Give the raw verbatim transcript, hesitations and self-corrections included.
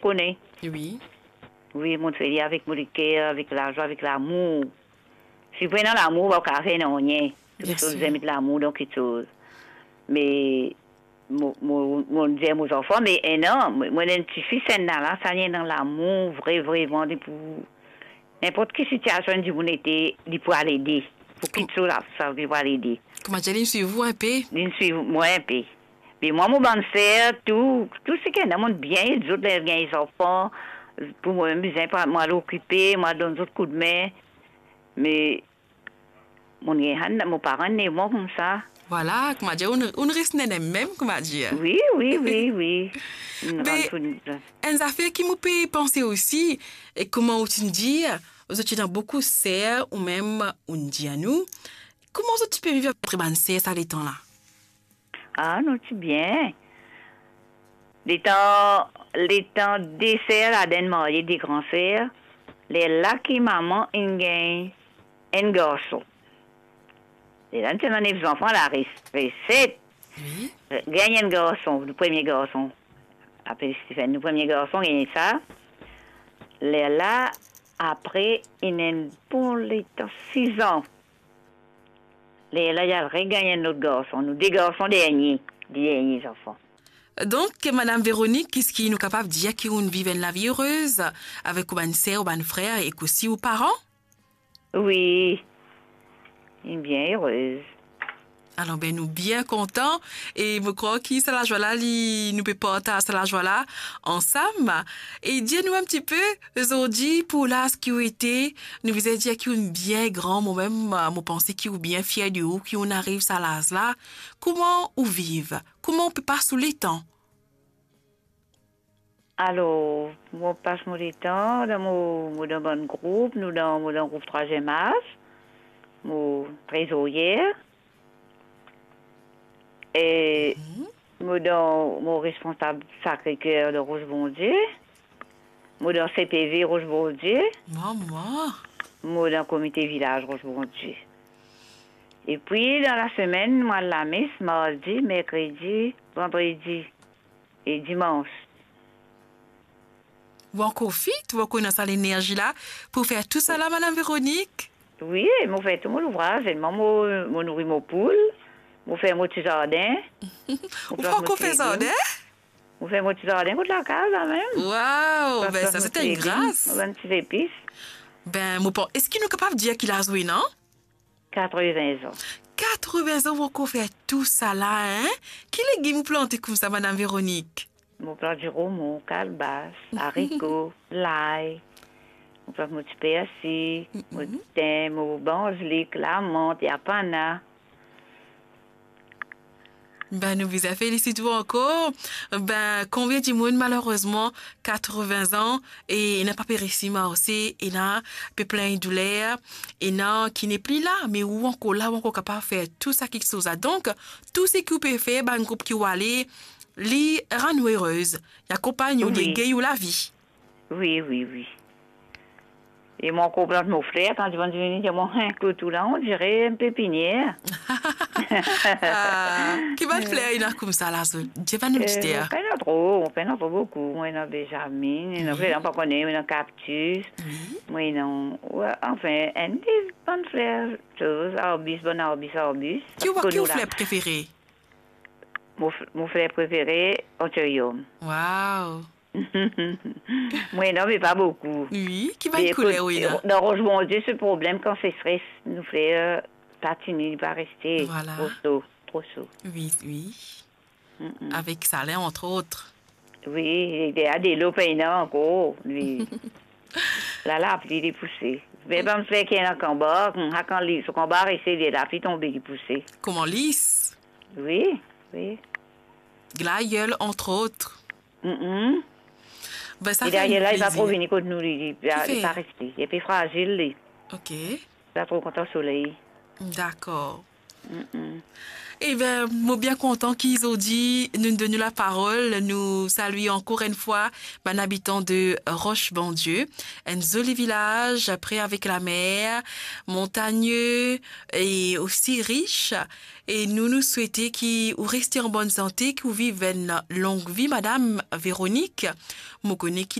Kone. Wi. Wi, mo fer li avek mo leker, avek lazwa, avek lamour. Si ou pena lamour, ou pa kapav fer nanye. Bien sir. Tou sa ou bizin met lamour dan kiksoz. Me mo, mo, mo dir mo zanfan, me enn an, mo, mo ena enn tifi, enn la, sa li ena lamour, vre, vreman, li pou, ninport ki sitiasion dimoun ete, li pou al ede. Pou kiksoz la, sa li pou al ede. Kouma dir, li swiv ou inpe? Li swiv mwa inpe. Me mwa, mo bann ser, tou, tou seki ena, mo bien ed zot, ler gagn zanfan, pou mwa mem bizin, pa, mo al okipe, mo al donn zot koudme. Me mo gagn, mo paran ena mwa koumsa. Vwala, kouma dir, ou, ou res nene mem, kouma dir. Wi, wi, wi, wi. Be, enn zafer ki mo pe panse osi, e kouma ou ti dir, zot ti ena boukou ser, ou mem, ou dir nou, kouma zot ti pe viv apre bann ser sa letan la? Ah, nou ti bien. Letan, letan de ser ladan inn marye, de gran ser, lerla ki mama inn gagn enn garson. Lerla nou ti ena nef zanfan, la res, res set. Wi. Gagn enn garson, nou premie garson. Apel Stephen, nou premie garson, gagn sa. Lerla, apre, inn enn bon letan, sis an. Lerla, li al regagn enn lot garson. Nou de garson dernie, de dernie zanfan. Donk, Madam Véronique, kiski nou kapav dir ki ou'nn viv enn lavi erez avek ou bann ser, ou bann frer ek osi ou paran? Wi, bien erez. Alor, be, nou bien kontan e mo krwar ki sa lazwa la, li, nou pe partaz sa lazwa la ansam. E dir nou enn tipe, zordi, pou laz ki ou ete, nou bizin dir ki ou'nn bien gran, mo mem, mo panse ki ou bien fier de ou, ki ou'nn ariv sa laz la. Kouma ou viv? Kouma ou pe pas ou letan? Alor, mo pas mo letan, dan mo, mo dan bann group, nou dan, mo dan group Trwaziem Laz, mo trezoryer. E mo dan, mo responsab Sacré-Cœur de Roche Bondieu. Mo dan C P V Roche Bondieu. Mama! Mo dan komite vilaz Roche Bondieu. Epi, dan lasemenn, mo al lames mardi, merkredi, vandredi e dimans. Ou ankor fit, ou ankor ena sa lenerzi la pou fer tou sa la, Madam Véronique? Wi, mo fer tou mo louvraz, selman mo, mo nouri mo poul, mo fer mo ti zardin. Ou pa ankor fer zardin? Mo fer mo ti zardin kot lakaz la mem. Wow, be sa se enn gras. Mo bann ti zepis. Be, mo pa, eski nou kapav dir ki laz ou ena? Katreven zan. Katreven zan, ou ankor fer tou sa la, hein? Ki legim ou plante koumsa, Madam Véronique? Mo plant diromon, kalbas, ariko, lay. Mo plant mo ti persi, mo tin, mo banzilik, lamant, yapana. Be, nou bizin felisit ou ankor. Be, konbien dimoun, malerezman, katreven zan, e ena pa pe resi marse, ena pe plin douler, ena ki nepli la, me ou ankor la, ou ankor kapav fer tou sa kiksoz la. Donk, tou seki ou pe fer, bann group ki ou ale, li rann ou erez, li akonpagn ou, li gagn ou lavi. Wi, wi, wi. E mo ankor plant mo fler, kan dimoun vini, dir mwa, "Hein, kot ou la, on dirait une pépinière." Ah, ki bann fler ena koumsa la, so? Dir bann oditer. Eh, pena tro, pena tro boukou. Mo ena benjamin, ena fler, pa kone, mo ena cactus. Wi. Mo ena, wi, anfin, enn de bann fler, koz, arbis, bann arbis, arbis. Ki ou, ki ou fler prefere? Mo f-, mo fler prefere, anthurium. Wow. Mo ena, me pa boukou. Wi, ki bann kouler ou ena? Dan Roche Bondieu, se problem, kan seseres, nou fler, euh, pa tini, li pa reste. Vwala. Tro so, tro so. Wi, wi. Avek salen, entre autres. Wi, e delo pena ankor, li. La, lapli, li pouse. Me bann fler ki ena kanbar, hmm, sa kan li, so kanbar reste, li lapli tonbe, li pouse. Kouma lis? Wi, wi. Glaïeul, entre autres. Mm. Be, sa fer enn plezir. E dayera la, li pa tro vini kot nou, li, li, li pa reste. Li pe frazil, li. Ok. Li pa tro kontan soley. Dakor. Eben, mo bien kontan ki zordi nou donn nou laparol. Nou salye ankor enn fwa bann abitan de Roche Bondieu, enn zoli vilaz pre avek lamer, montagne e osi ris. E nou, nou swete ki ou reste an bonn sante, ki ou viv enn long vi, Madam Véronique. Mo kone ki